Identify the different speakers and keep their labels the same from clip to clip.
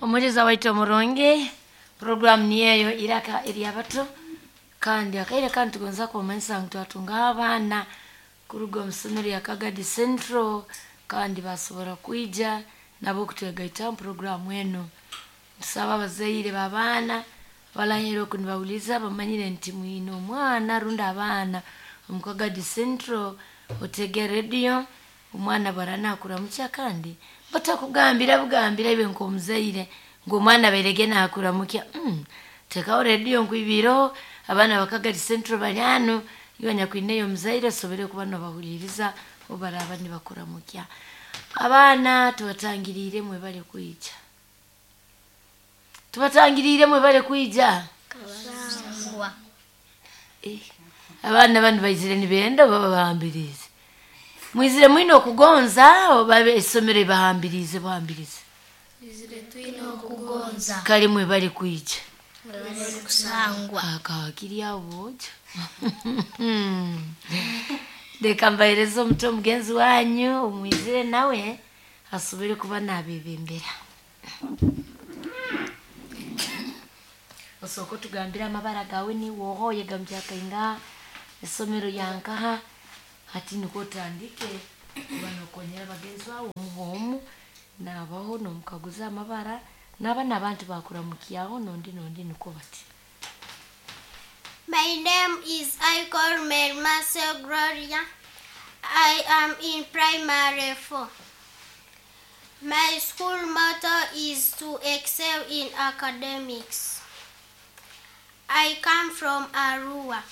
Speaker 1: Omuliza waitu omurungi, puroguramu niyeyo iraka eryabato, kandi akaire kandi tugonza kumanyisa ngu twatungaho abaana kuruga omu isomero lya Kagadi Central, kandi basobora kwija nabo kutwegaitaho omu puroguramu enu. Ntusaba abazaire b'abaana abarahera oku nibawuliza bamanyire nti mwine omwana rundi abaana omu Kagadi Central, otege rediyo omwana bwara nakuramukya, kandi batakugambira bugambira iwe nk'omuzaire ngu omwana abairege nakuramukya. Tekaho rediyo nkwibiireho abaana ba Kagadi Central bari hanu, iwe nyakwineyo omuzaire osobole kuba nobahuliriza obu baraaba nibakuramukya. Abaana tubatangiriire mwebale kwija, tubatangiriire mwebale kwija. Abaana banu baizire nibenda oba babahambiriize? Mwizire mwine okugonza oba isomero libahambiriize buhambirize?
Speaker 2: Twizire twine okugonza.
Speaker 1: Kale mwebale kwija.
Speaker 2: Mwebale kusangwa.
Speaker 1: Akakiri aho bwojo. Leka mbahereze omuto omugenzi wanyu omwizire nawe asobole kuba nabebembera. Osooka otugambire amabara gawe, niiwe oha, oyega mu kyakaingaha, isomero lyankaha, hati nikwo otandike kuba nokonyera bagenzi bawe omu omu, nabaho nomukaguza amabara, naba n'abantu bakuramukyaho nondi nondi nikwo bati.
Speaker 2: My name is Icor Mermase Gloria. I am in primary 4. My school motto is to excel in academics. I come from Arua.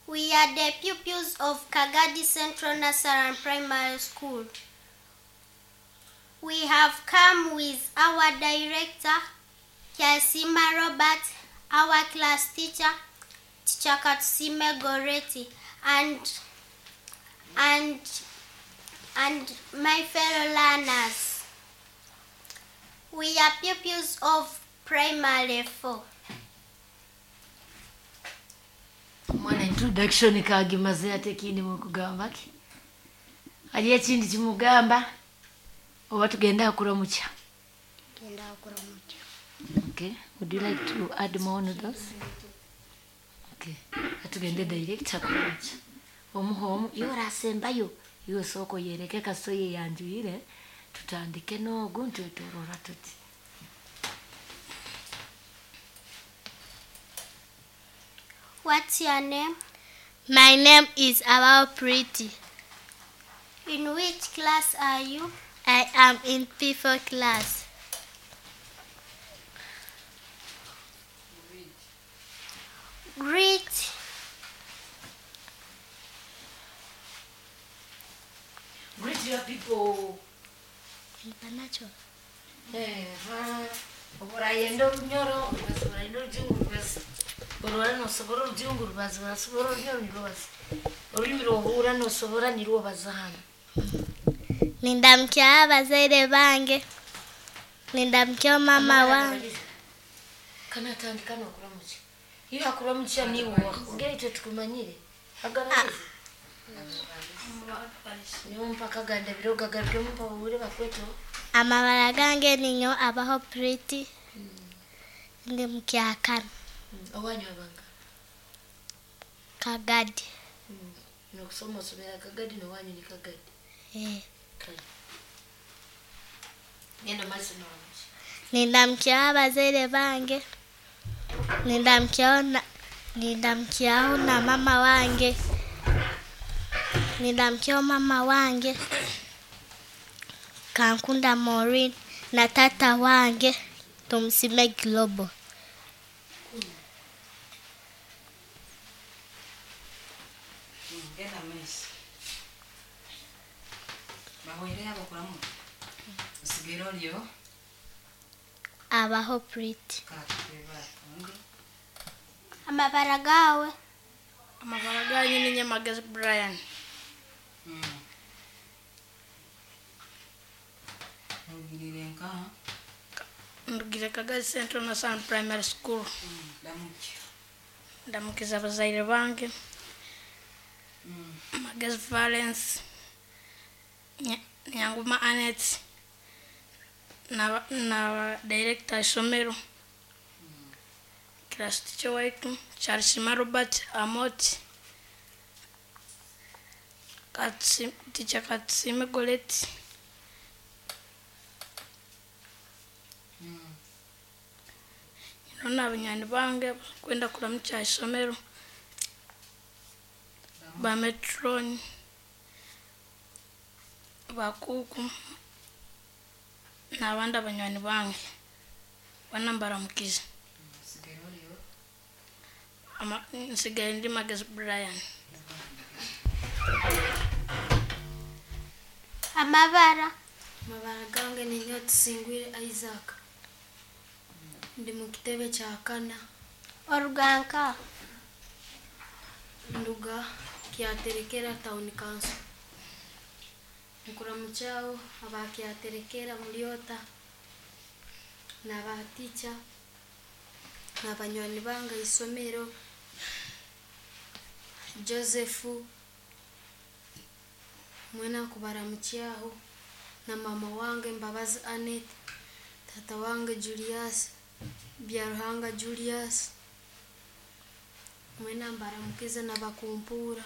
Speaker 2: We are the pupils of Kagadi Central Nasaran Primary School. We have come with our director, Kyasima Robert, our class teacher, Teacher Katsime Goretti, and and and my fellow learners. We are pupils of primary 4.
Speaker 1: Omwana introduction kagimaze, ate ekindi mukugamba ki? Hariyo ekindi kimugamba oba tugende akuramukya? Okay, would you like to add more on those? Okay, atugende direct akuramukya. Omuha omu, iwe orasembayo, iwe sooka oyereke kasita oyeyanjwire, tutandike n'ogu ntwetorora tuti.
Speaker 2: What's your name?
Speaker 3: My name is Abao Pretty.
Speaker 2: In which class are you?
Speaker 3: I am in P4 class.
Speaker 2: Greet.
Speaker 1: Greet your people.
Speaker 3: International.
Speaker 1: Oburayenda orunyoro orubazi, burayenda orujungu rubazi, orora nosobora orujungu rubazi, orasobora orunyoro nirubaza orulimi rwohura nosobora nirwo baza hanu.
Speaker 3: Nindamkia abazaire bange. Nindamkia mama wange.
Speaker 1: Kana atandika nokuramukya, iyo akuramukya niwe ongera itwe tukumanyire agarageze niwo mpaka ganda biro gagarukemu mpahure bakweto.
Speaker 3: Amabara gange ninyo Abaho Pretty. Ndi mukyakana.
Speaker 1: Owanyu abanga?
Speaker 3: Kagadi.
Speaker 1: Nokusoma osomera Kagadi, nowanyu ni Kagadi?
Speaker 3: Eh.
Speaker 1: Kale genda maiso noramukya.
Speaker 3: Nindamkia abazaire bange. Nindamkiaho na mama wange. Nindamkiaho mama wange Kankunda Maureen na tata wange Tumusime Global.
Speaker 4: Genda maiso. Bahwere abakuramu. Osigere oryo.
Speaker 3: Abaho Pretty.
Speaker 4: Kakeba undi.
Speaker 2: Amabara gawe.
Speaker 5: Amabara ganyu ni Nyamagezi Brian.
Speaker 4: Orugirire nkaha?
Speaker 5: Ndugire Kagadi Central Nasaran Primary School.
Speaker 4: Ndamukya.
Speaker 5: Ndamukiza abazaire bange. Magezi Valence, Nyanguma Annette, Na director isomero. Class teacher waitu Charles Robert Amoti. Teacher Katsime Goretti. Nona abanywani bange kwenda kuramukya isomero ba metron bakuku n'abandi abanywani bange bana mbaramukize. Nsigaye ndi Magezi Brian.
Speaker 2: Amabara.
Speaker 6: Amabara gange ninyo Tusingwire Isaac. Ndi mu kitebe kya kana.
Speaker 2: Oruganka.
Speaker 6: Nduga Kyaterekera Town Council. Nkuramukyaho aba Kyaterekera Mulyota n'abaticha n'abanywani bange isomero Joseph mwena kubaramukyaho na mama wange Mbabazi Annette, tata wange Julius Byaruhanga Julius, mwena mbaramukize n'abakumpura.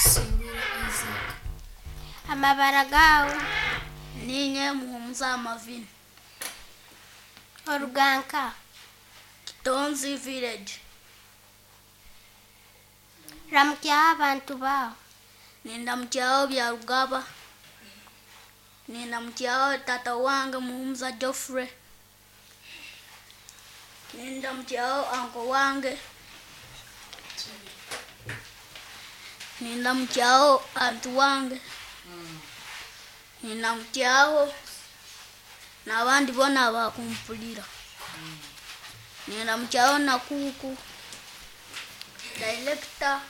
Speaker 6: Tusingwire Isaac.
Speaker 2: Amabara gawe.
Speaker 3: Ninye Muhumuza Mavini.
Speaker 2: Oruganka.
Speaker 3: Kitonzi village.
Speaker 2: Ramukyaho abantu bawe.
Speaker 3: Nindamukyaho Byarugaba. Nindamukyaho tata wange Muhumuza Geoffrey. Nindamukyaho anko wange. Nindamukyaho antu wange. Nindamukyaho n'abandi bona bakumpulira. Nindamukyaho na kuku director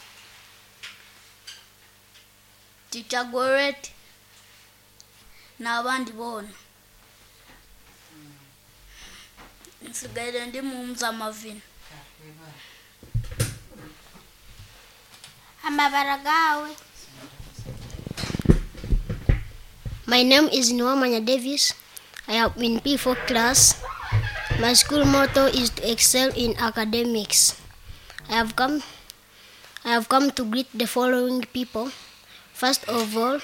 Speaker 3: Teacher Goret n'abandi bona. Nsigaire ndi Muhumuza Mavini.
Speaker 2: Amabara gawe. My name is Nuamanya Davis. I am in P4 class. My school motto is to excel in academics. I have come to greet the following people. First of all,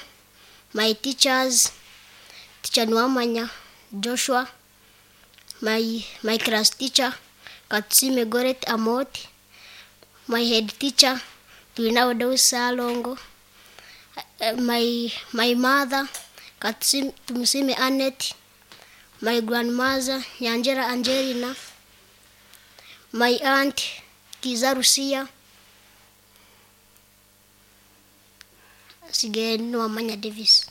Speaker 2: my teachers, Teacher Nuamanya Joshua, my class teacher, Katsime Goret Amot, my head teacher, Tuinawado Salongo, my mother, Katsime Tumusime Annette, my grandmother, Nyanjera Angelina, my aunt, Kiza Rusia. Sige Nuamanya Davis.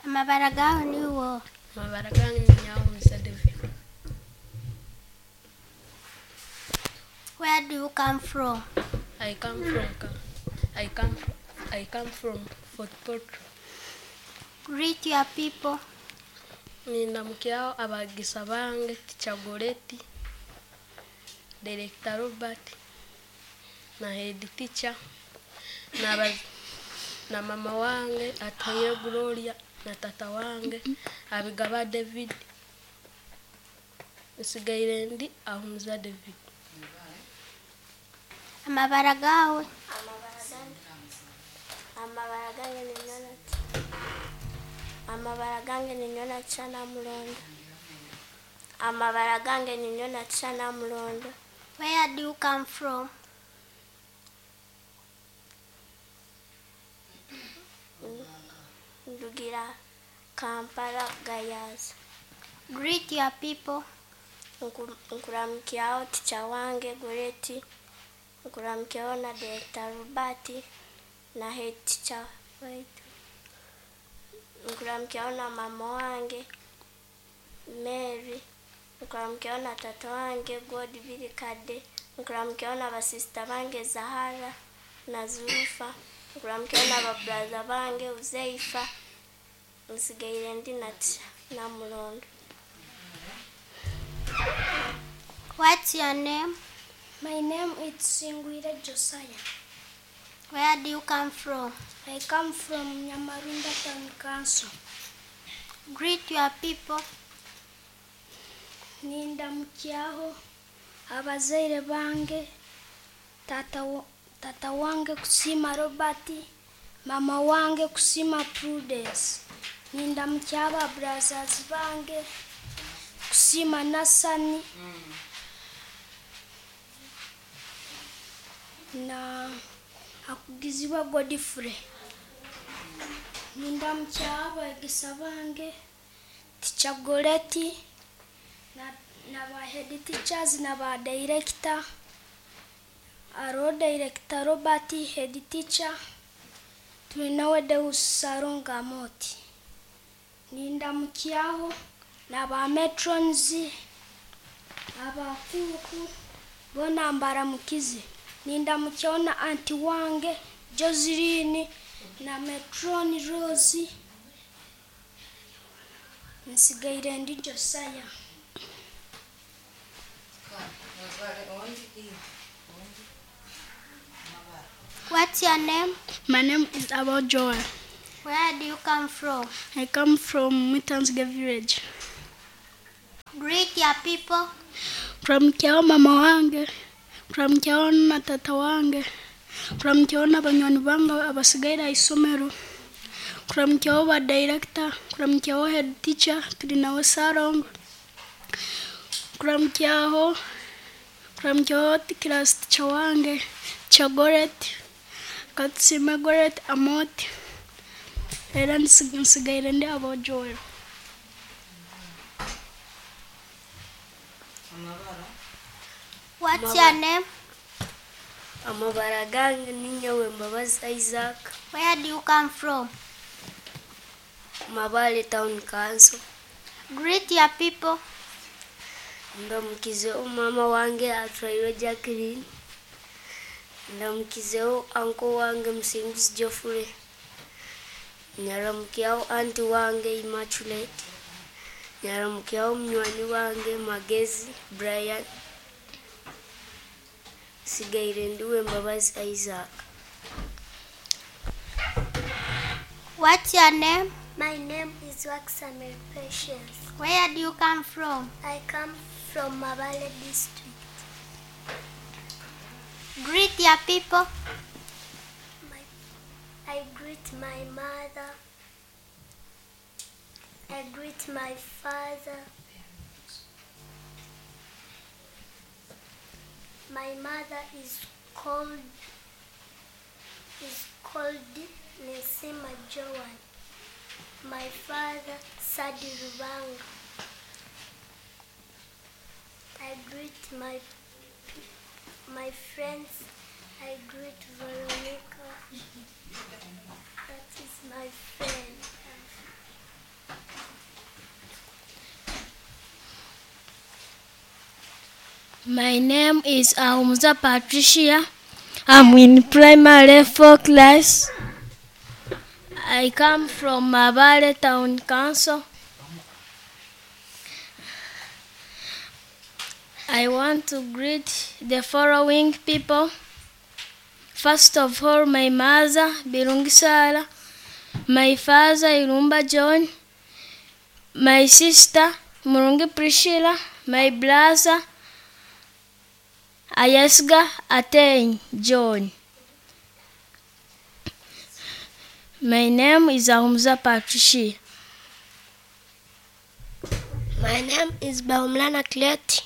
Speaker 2: Amabara gawe niwo.
Speaker 5: Amabara gange ni Nyamusa David.
Speaker 2: Where do you come from?
Speaker 5: I come from Fort Portal.
Speaker 2: Greet your people.
Speaker 5: Nindamukyaho abagisa bange Teacher Goretti, Director Robert, na head teacher, na mama wange Atoye Gloria, na tata wange Abigaba David. Nsigaire ndi Ahumuza David.
Speaker 2: Amabara gawe.
Speaker 3: Amabara gange ni Nyonati. Amabara gange ni Nyonati na Mulondo. Amabara gange ni Nyonati na Mulondo.
Speaker 2: Where do you come from?
Speaker 3: Ndugira Kampala Gayaza.
Speaker 2: Greet your people.
Speaker 3: Nkuramukyaho teacher wange Goretti. Nkuramukyaho na Director Robert na head teacher waitu. Nkuramukyaho na mama wange Mary. Nkuramukyaho na tata wange God Birikade. Nkuramukyaho na basista bange Zahara na Zurufa. Nkuramukyaho na babraza bange Uzeifa. Nsigaire ndi na Mulondo.
Speaker 2: What's your name?
Speaker 6: My name is Singwire Josiah.
Speaker 3: Where do you come from?
Speaker 6: I come from Nyamarunda Town Council.
Speaker 3: Greet your people.
Speaker 6: Nindamukyaho abazaire bange, tata wange kusima Robert, mama wange kusima Prudence. Nindamukyaho aba brothers bange kusima Nasani na akugizibwa Godfrey. Nindamukyaho abaegesa bange Teacher Goretti na ba head teachers na ba director, aro director Robert, head teacher tulinawe Deus Saronga Moti. Nindamukyaho na ba matrons, abakuku bona mbaramukize. Nindamukyaho na anti wange Joseline na matron Rose. Nsigaire ndi Josiah.
Speaker 3: What's your name?
Speaker 6: My name is Abel Joel.
Speaker 3: Where do you come from?
Speaker 6: I come from Mutansge village.
Speaker 3: Greet your people.
Speaker 6: Kuramukyaho mama wange, kuramukyaho na tata wange, kuramukyaho na banywani bange abasigaire aha isomero, kuramukyaho ba director, kuramukyaho head teacher tulinawe Sarongo, kuramukyaho class teacher wange Chagoret, Katsime Goret Amoti. Era nsigaire ndi Abel Joel.
Speaker 3: What's your name?
Speaker 6: Amabara gange ni nyowe Mbabazi Isaac.
Speaker 3: Where do you come from?
Speaker 6: Mabale Town Council.
Speaker 3: Greet your people.
Speaker 6: Ndamukizeho mama wange atwairwe Jacqueline. Ndamukizeho uncle wange Musinguzi Geoffrey. Nyaramukyaho anti wange Immaculate. Nyaramukyaho munywani wange Magezi Brian. Sigaire ndiwe Mbabazi Isaac.
Speaker 3: What's your name? My name is Waxamel Patience. Where do you come from? I come from Mabale district. Greet your people. I greet my mother. I greet my father. My mother is called Nesima Joan. My father Sadi Rubanga. I greet my friends. I greet Veronica. That is my friend.
Speaker 6: My name is Ahumza Patricia. I'm in primary 4 class. I come from Mabale Town Council. I want to greet the following people. First of all, my mother, Birungi Sara, my father, Irumba John, my sister, Murungi Priscilla, my brother, Ayesga Aten John. My name is Ahumza Patricia.
Speaker 3: My name is Baumlana Kleti.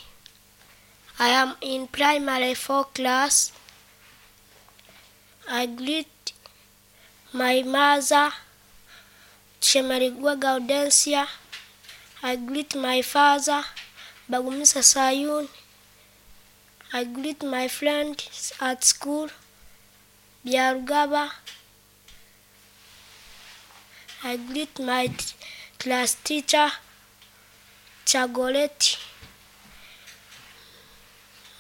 Speaker 3: I am in primary 4 class. I greet my mother, Chemarigwa Gaudensia. I greet my father, Bagumisa Sayun. I greet my friends at school, Biarugaba. I greet my class teacher, Chagoleti.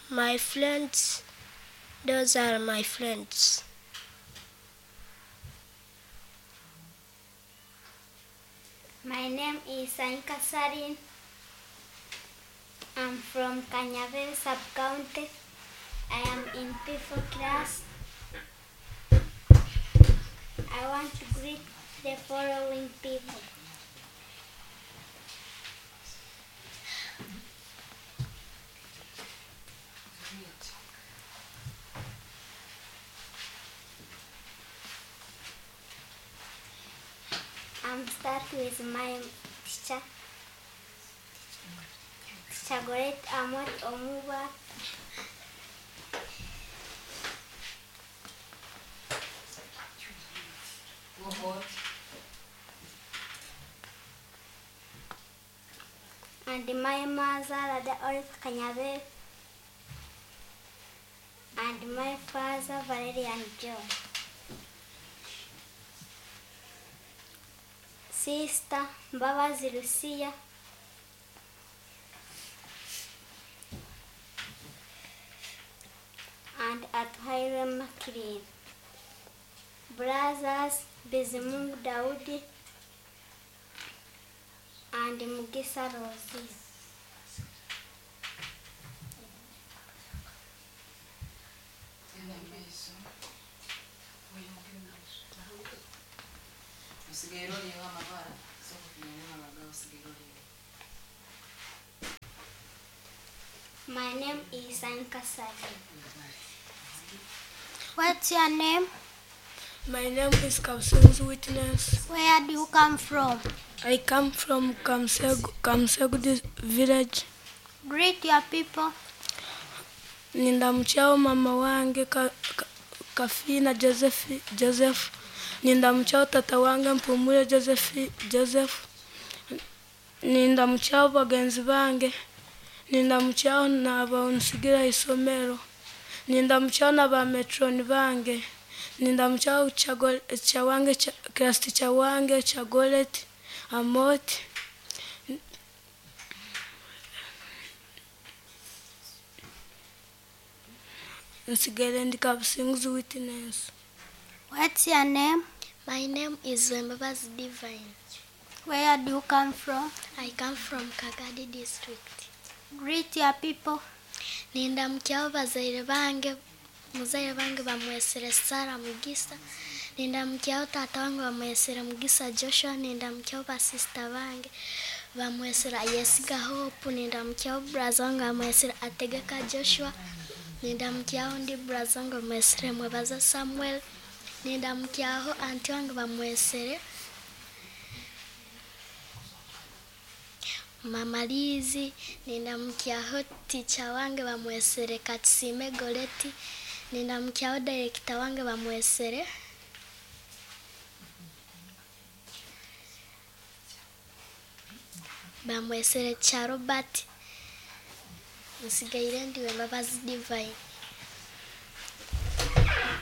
Speaker 3: My friends, those are my friends.
Speaker 7: My name is Anka Sarin. I'm from Kanyabe sub-county. I am in P4 class. I want to greet the following people.
Speaker 4: Greet.
Speaker 7: I'm start with my teacher. Teacher Goret Amot Omuba.
Speaker 4: Go forward.
Speaker 7: And my mother, Lada Olive Kanyabe. And my father, Valerian John. Sister, Mbabazi Lucia. And Atuhaire Makirin. Brothers, Bizimungu Daudi and Mugisa Rosie.
Speaker 4: Genda mu maiso. Osigaire oliho amabara, sooka kumanya amabara osigaire oliho.
Speaker 7: My name is Anka Salim.
Speaker 2: What's your name?
Speaker 5: My name is Kamsengu Witness.
Speaker 2: Where do you come from?
Speaker 5: I come from Kamsegu, Kamsegu village.
Speaker 2: Greet your people.
Speaker 5: Nindamukyao mama wange Kafina Joseph Joseph. Nindamukyao tata wange Mpumule Joseph Joseph. Nindamukyao bagenzi bange. Nindamukyao n'abansigira isomero. Nindamukyao n'aba metroni bange. Nindamukyao chawange class teacher wange Chagolet Amot. Nsigere ndi Kabusinguzi Witness.
Speaker 2: What's your name?
Speaker 3: My name is Wembabazi Divine.
Speaker 2: Where do you come from?
Speaker 3: I come from Kagadi district.
Speaker 2: Greet your people.
Speaker 3: Nindamukyao bazaire bange, muzaire bange bamwesere Sara Mugisa. Nindamukyao tata wange bamwesere Mugisa Joshua. Nindamukyao basista bange bamwesere Yesiga Hope. Nindamukyao brother wange bamwesere Ategeka Joshua. Nindamukyao ndi brother wange bamwesere Mwebaza Samuel. Nindamukyao anti wange bamwesere Mama Lizi. Nindamukyao teacher wange bamwesere Katsime Goleti. Nindamukyao director wange bamwesere Cha Robert. Nsigaire ndi Wembabazi Divine.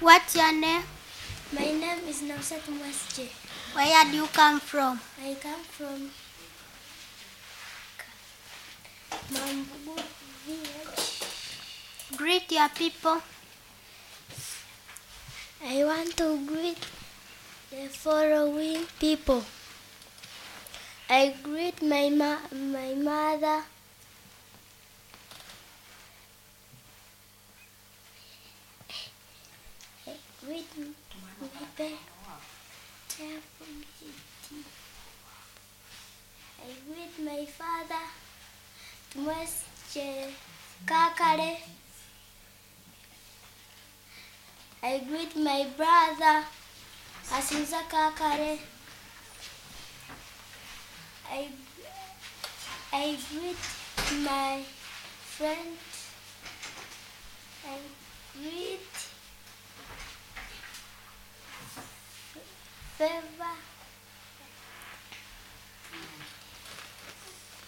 Speaker 2: What's your name?
Speaker 7: My name is Nausat Mwasje.
Speaker 2: Where do you come from?
Speaker 7: I come from Mambugu village.
Speaker 2: Greet your people.
Speaker 7: I want to greet the following people. I greet my mother, I greet my I greet my father, Tumwesche Kakare. I greet my brother, Asinza Kakare. I greet my friend. I greet Favor.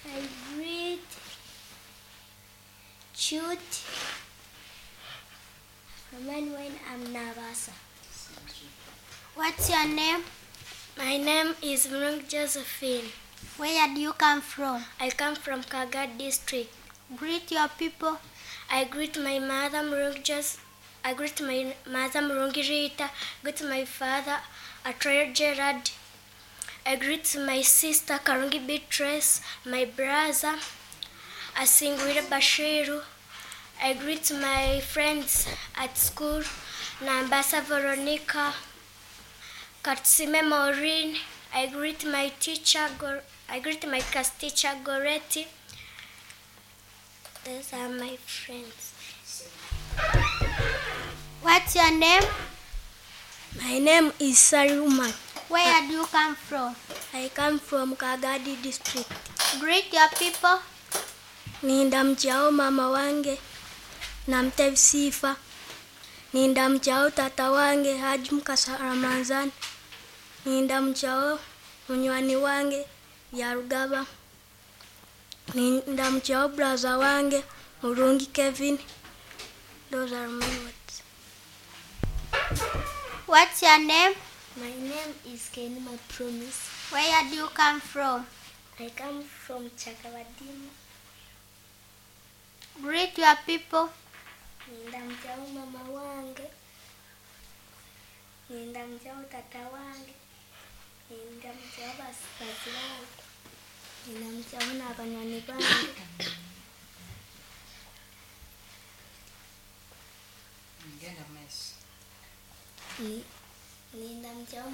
Speaker 7: I greet Chut. When I'm Navasa.
Speaker 2: What's your name?
Speaker 7: My name is Mrung Josephine.
Speaker 2: Where do you come from?
Speaker 7: I come from Kagadi district.
Speaker 2: Greet your people.
Speaker 7: I greet my mother Mrung Jos. I greet my mother Mrungi Rita. Greet my father Atrayo Gerard. I greet my sister Karungi Beatrice. My brother Asingwire Bashiru. I greet my friends at school, Nambasa Veronica, Katsime Maureen. I greet my teacher, I greet my class teacher, Goretti. Those are my friends.
Speaker 3: What's your name?
Speaker 7: My name is Saluma.
Speaker 3: Where do you come from?
Speaker 7: I come from Kagadi district.
Speaker 3: Greet your people.
Speaker 7: Nindamchao mama wange Namtev Sifa. Nindamchao tata wange Haji Mukasa Ramanzan. Nindamchao munywani wange Byarugaba. Nindamchao brother wange Murungi Kevin. Those are my words.
Speaker 3: What's your name?
Speaker 7: My name is Kenima Promise.
Speaker 3: Where do you come from?
Speaker 7: I come from Chakabadimu.
Speaker 3: Greet your people.
Speaker 7: Nindamchao mama wange. Nindamchao tata wange. Nindamchao basibazi bange. Nindamchao n'abanywani bange.
Speaker 4: Genda mu maiso.
Speaker 7: Nindamchao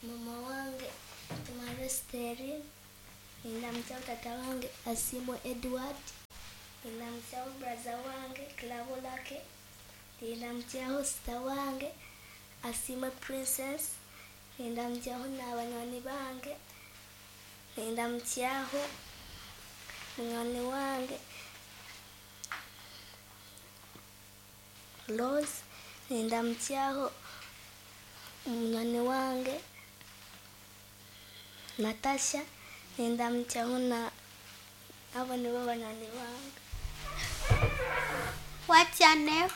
Speaker 7: mama wange Tumaro Sterling. Nindamchao tata wange Asimo Edward. Nindamchao brother wange Klabolake. Nindamchao sister wange Asimo Princess. Nindamchao n'abanywani bange. Nindamchao munywani wange Rose. Nindamchao munywani wange Natasha. Nindamchao na abo nibo banywani bange.
Speaker 3: What's your name?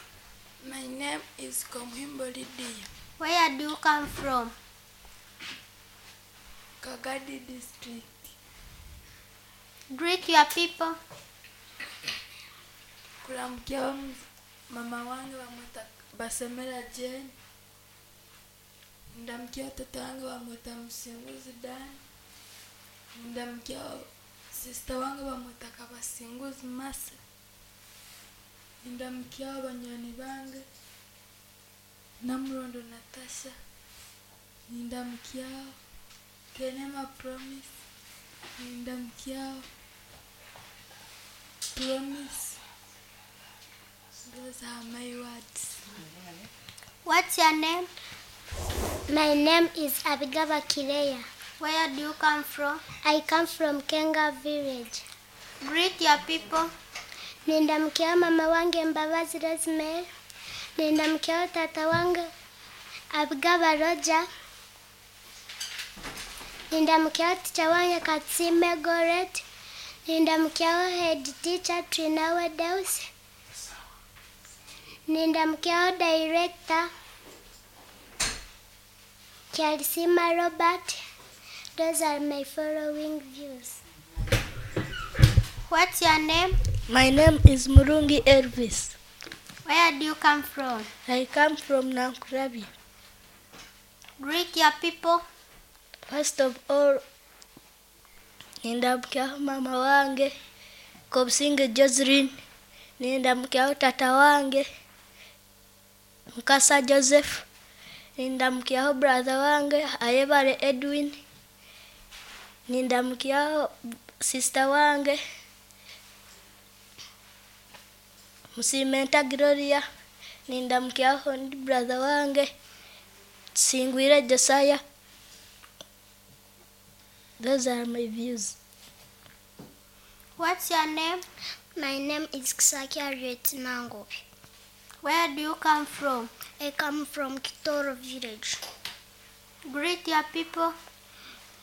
Speaker 5: My name is Komuhimbo Lydia.
Speaker 3: Where do you come from?
Speaker 5: Kagadi district.
Speaker 3: Greet your people.
Speaker 5: Kulamkia mama wange bamwita Basemera Jane. Ndamkia tata wange bamwita Musinguzi Dan. Ndamkia sister wange bamwita Kabasinguzi Mase. Ndamkia banywani bange Namurondo Natasha. Ndamkia Kenema Promise. Ndamkia Promise. Those are my words.
Speaker 3: What's your name?
Speaker 7: My name is Abigaba Kireya.
Speaker 3: Where do you come from?
Speaker 7: I come from Kenga village.
Speaker 3: Greet your people.
Speaker 7: Nindamkia mama wange Mbabazi Rosemary. Nindamkia tata wange Abigaba Roger. Nindamkia teacher wange Katsime Goret. Nindamkia head teacher Trinawe Deus. Nindamkia director Kialisima Robert. Those are my following views.
Speaker 3: What's your name?
Speaker 7: My name is Murungi Elvis.
Speaker 3: Where do you come from?
Speaker 7: I come from Nankurabi.
Speaker 3: Greet your people.
Speaker 7: First of all, nindamkia mama wange Kobsinge Josephine. Nindamkia tata wange Mukasa Joseph. Nindamkia brother wange Ayebare Edwin. Nindamkia sister wange Musimenta Gloria. Nindamkia brother wange Singwire Josiah. Those are my views.
Speaker 3: What's your name?
Speaker 7: My name is Kisaki Harriet Nangobi.
Speaker 3: Where do you come from?
Speaker 7: I come from Kitoro village.
Speaker 3: Greet your people.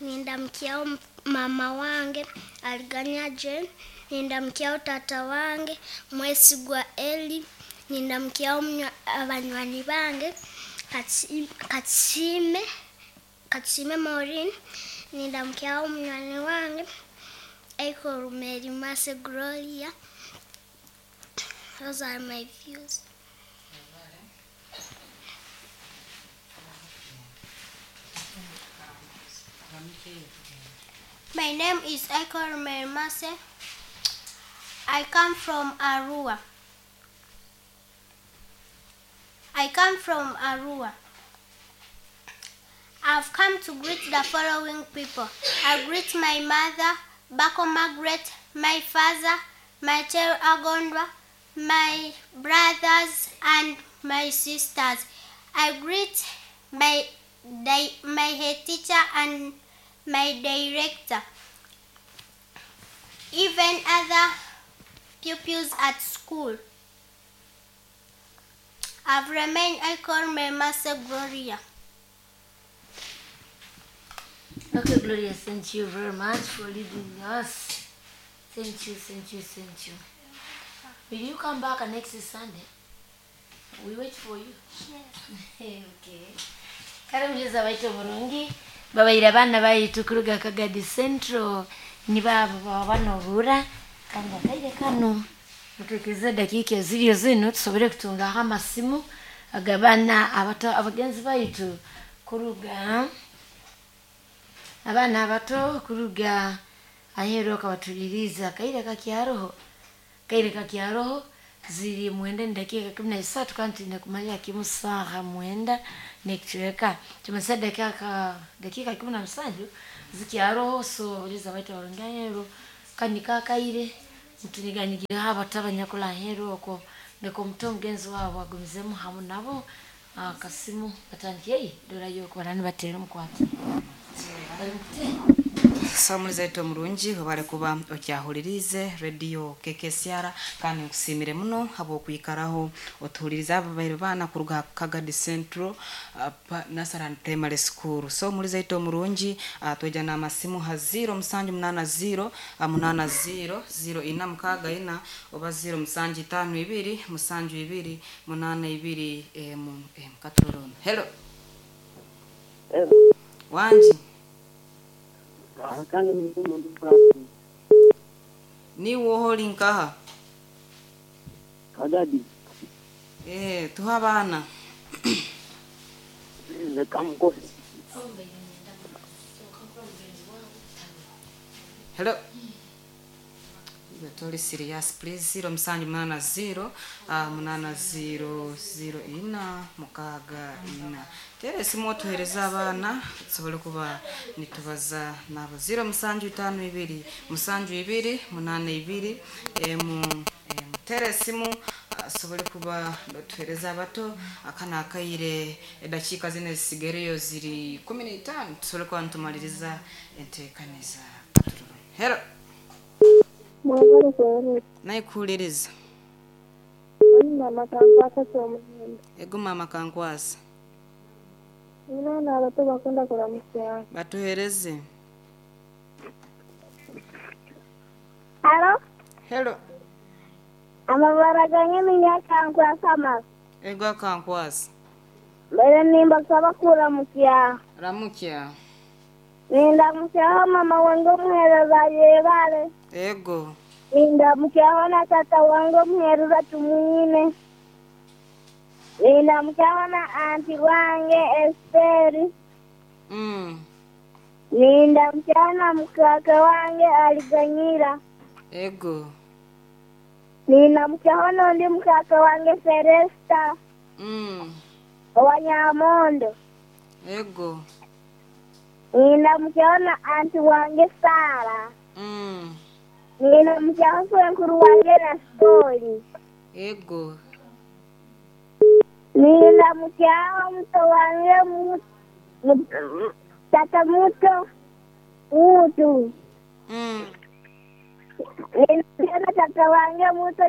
Speaker 7: Nindamkia mama wange Aliganya Jane. Nindamkia tata wange Mwesigwa Eli. Nindamkia abanywani bange Katsime Maureen. Nindamkia munywani wange Eko Mary Mase Gloria. Those are my views.
Speaker 3: My name is Eko Mary Mase. I come from Arua.
Speaker 8: I come from Arua. I've come to greet the following people. I greet my mother, Bako Margaret, my father, Michael Agondwa, my brothers and my sisters. I greet my head teacher and my director, even other pupils at school. I've remained, I call my master Gloria.
Speaker 1: Okay, Gloria, thank you very much for leading us. Thank you, thank you, thank you. Will you come back next Sunday? We wait for you.
Speaker 8: Yes.
Speaker 1: Okay. Kare baitu burungi babaire abana baitu kuruga Kagadi Central ni babo babanobura kandi akaire kano mutekeze dakika eziriyo zino tusobole kutungaho amasimu agabana abato abagenzi baitu kuruga abana abato kuruga ahero kabatuliriza kaire kakyaroho ziri mwenda ni dakika 13 kandi nakumanya kimu saha mwenda nekichweka tumesa dakika 17 zikyaroho so uliza baita barunganyero kandi kakaire mtuniganyigira haba tabanyakula hero oko ndeko mto mugenzi wabo agumizemu hamu nabo akasimu batangiye dora yoko barani batera mukwata
Speaker 4: Samuliza ito murungi wabale kuba okyahulirize radio KKCR kandi nkusimire muno habwokwikaraho otuhuliriza ababaire baana kuruga Kagadi Central Nasaran Primary School. So muliza ito murungi tweja n'amasimu ha 0780 80 0464 oba 0752 72 82 m katurona. Hello.
Speaker 9: Hello.
Speaker 4: Wanji. Ni woholi nkaha
Speaker 9: Kagadi.
Speaker 4: Tuha abana. Hello. Toli serious please 0780 80 04 64 tere simu otuhereza abana tusobole kuba nitubaza nabo 0752 72 82 emu tere simu asobole kuba tuhereza abato akana akaire edakika zine zisigereyo ziri 15 tusobole kuba ntumaliriza enteekaniza. Hello. Naikuuliriza.
Speaker 10: Mama kankwasa ky'omuhendo.
Speaker 4: Ego mama kankwasa.
Speaker 10: Nina abato bakunda kulamusia.
Speaker 4: Batuhereze.
Speaker 10: Hello.
Speaker 4: Hello.
Speaker 10: Amabara gange ninya kankwasa ma.
Speaker 4: Ego kankwasa.
Speaker 10: Mbere nimba saba kulamukia.
Speaker 4: Ramukia.
Speaker 10: Ninda mukyaho mama wange omuhereza yebale.
Speaker 4: Ego.
Speaker 10: Ninda mukyaho na tata wange omuhereza tumwine. Ninda mukyaho na anti wange Esteri. Ninda mukyaho na mukaka wange Aliganyira.
Speaker 4: Ego.
Speaker 10: Ninda mukyaho n'ondi mukaka wange Celesta. Owanyamondo.
Speaker 4: Ego.
Speaker 10: Nina mukyaho na anti wange Sara. Nina mukyaho swenkuru wange na Stori.
Speaker 4: Ego.
Speaker 10: Nina mukyaho muto wange tata muto utu. Nina mukyaho tata wange muto.